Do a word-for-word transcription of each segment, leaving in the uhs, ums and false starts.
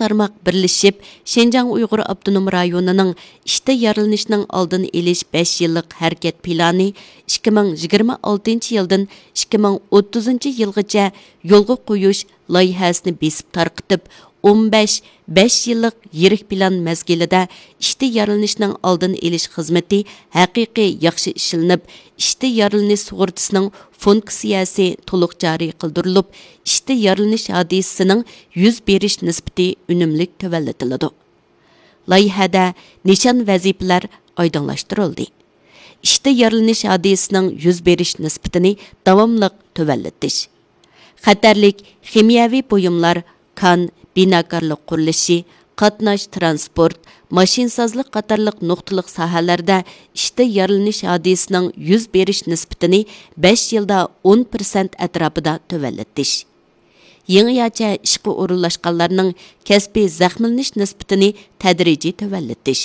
تارماق بىرلىشىپ، شىنجاڭ ئۇيغۇر ئاپتونوم رايونىنىڭ ئىشتە يارىلىنىشنىڭ ئالدىنى ئېلىش بەش يىللىق ھەرىكەت پىلانى ئىككى مىڭ يىگىرمە ئالتىنچى يىلدىن ئىككى مىڭ ئوتتۇزىنچى يىلغىچە يولغا قويۇش لايىھەسىنى بېسىپ تارقىتىپ، ئون بەش بەش يىللىق يىرىك پىلان مەزگىلىدە ئىشتە يارىلىنىشنىڭ ئالدىنى ئېلىش خىزمىتى ھەقىقىي ياخشى ئىشلىنىپ، ئىشتە يارىلىنىش سۇغۇرتىسىنىڭ فۇنكسىيەسى تولۇق جارى قىلدۇرۇلۇپ، ئىشتە يارىلىنىش ھادىسىسىنىڭ يۈز بېرىش نىسبىتى ئۈنۈملۈك تۆۋەنلىتىلىدۇ. لايىھەدە نىشان ۋەزىپىلەر ئايدىڭلاشتۇرۇلدى. ئىشتە يارىلىنىش ھادىسىسىنىڭ يۈز بېرىش نىسبىتىنى داۋاملىق تۆۋەنلىتىش. خەتەرلىك خىمىيەۋى بۇيۇملار، كان، بىناكارلىق قۇرۇلۇشى، قاتناش، تىرانسپورت، ماشىنىسازلىق قاتارلىق نۇقتىلىق ساھەلەردە ئىشتە يارىلىنىش ھادىسىسىنىڭ يۈز بېرىش نىسبىتىنى بەش يىلدا ئون پىرسەنت ئەتراپىدا تۆۋەنلىتىش. يېڭىچە ئىشقا ئورۇنلاشقانلارنىڭ كەسپىي زەخىملىنىش نىسبىتىنى تەدرىجىي تۆۋەنلىتىش.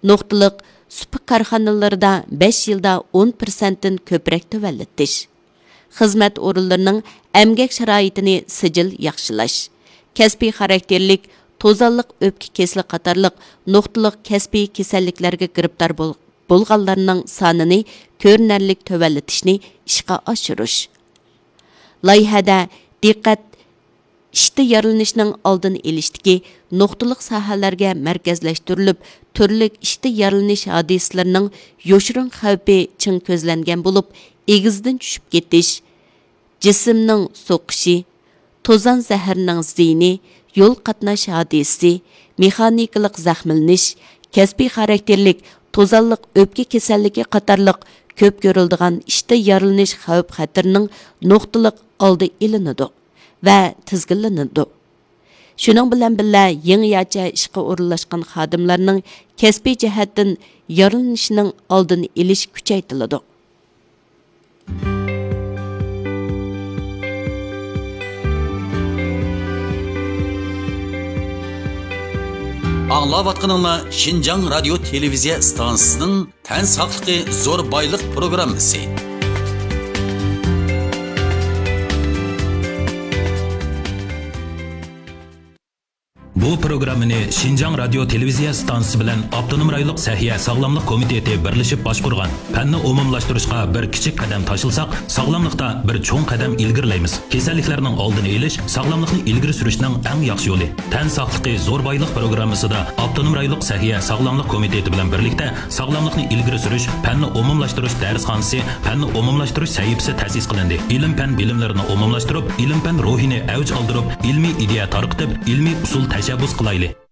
نۇقتىلىق سۇپا كارخانىلىرىدا بەش يىلدا ئون پىرسەنتتىن كۆپرەك تۆۋەنلىتىش. خىزمەت ئورۇنلىرىنىڭ ئەمگەك شارائىتىنى سىجىل ياخشىلاش. كەسپىي خاراكتېرلىك توزانلىق ئۆپكە كېسىلى قاتارلىق نۇقتىلىق كەسپىي كېسەللىكلەرگە گىرىپتار بول-، بولغانلارنىڭ سانىنى كۆرۈنەرلىك تۆۋەنلىتىشنى ئىشقا ئاشۇرۇش. لايىھەدە دىققەت ئىشتا يارىلىنىشنىڭ ئالدىنى ئېلىشتىكى نۇقتىلىق ساھەلەرگە مەركەزلەشتۈرۈلۈپ، تۈرلۈك ئىشتا يارىلىنىش ھادىسىلىرىنىڭ يوشۇرۇن خەۋپى چىڭ كۆزلەنگەن بولۇپ، ئېگىزدىن چۈشۈپ كېتىش، جىسىمنىڭ سوقۇشى، توزان زەھىرىنىڭ زىيىنى، يول قاتناش ھادىسىسى، مېخانىكىلىق زەخىملىنىش، كەسپىي خاراكتېرلىك توزانلىق ئۆپكە كېسەللىكى قاتارلىق كۆپ كۆرۈلىدىغان ئىشتا يارىلىنىش خەۋپ خەتىرىنىڭ نۇقتىلىق ئالدى ئېلىنىدۇ ۋە تىزگىنلىنىدۇ. شۇنىڭ بىلەن بىللە، يېڭىچە ئىشقا ئورۇنلاشقان خادىملارنىڭ كەسپىي جەھەتتىن يارىلىنىشىنىڭ ئالدىنى ئېلىش كۈچەيتىلىدۇ. ئاڭلاۋاتقىنىڭلار شىنجاڭ رادىيو تېلېۋىزىيە ئىستانسىسىنىڭ تەن ساقلىقى زور بايلىق پروگراممىسى. بۇ پروگراممىنى شىنجاڭ رادىيو تېلېۋىزىيە ئىستانسىسى بىلەن ئاپتونوم رايونلۇق سەھىيە ساغلاملىق كومىتېتى بىرلىشىپ باشقۇرغان. پەننى ئومۇملاشتۇرۇشقا بىر كىچىك قەدەم تاشلىساق، ساغلاملىقتا بىر چوڭ قەدەم ئىلگىرىلەيمىز. كېسەللىكلەرنىڭ ئالدىنى ئېلىش، ساغلاملىقنى ئىلگىرى سۈرۈشنىڭ ئەڭ ياخشى يولى. تەن ساقلىقى زور بايلىق پروگراممىسىدا ئاپتونوم رايونلۇق سەھىيە ساغلاملىق كومىتېتى بىلەن بىرلىكتە ساغلاملىقنى ئىلگىرى سۈرۈش، پەننى ئومۇملاشتۇرۇش دەرسخانىسى، پەننى ئومۇملاشتۇرۇش سەھىپىسى تەسىس قىلىندى. ئىلىم-پەن بىلىملىرىنى ئومۇملاشتۇرۇپ، ئىلىم-پەن روھىنى ئەۋج ئالدۇرۇپ، ئىلمىي ئىدىيە تارقىتىپ، ئىلمىي ئۇسۇل تەشەببۇس قىلايلى.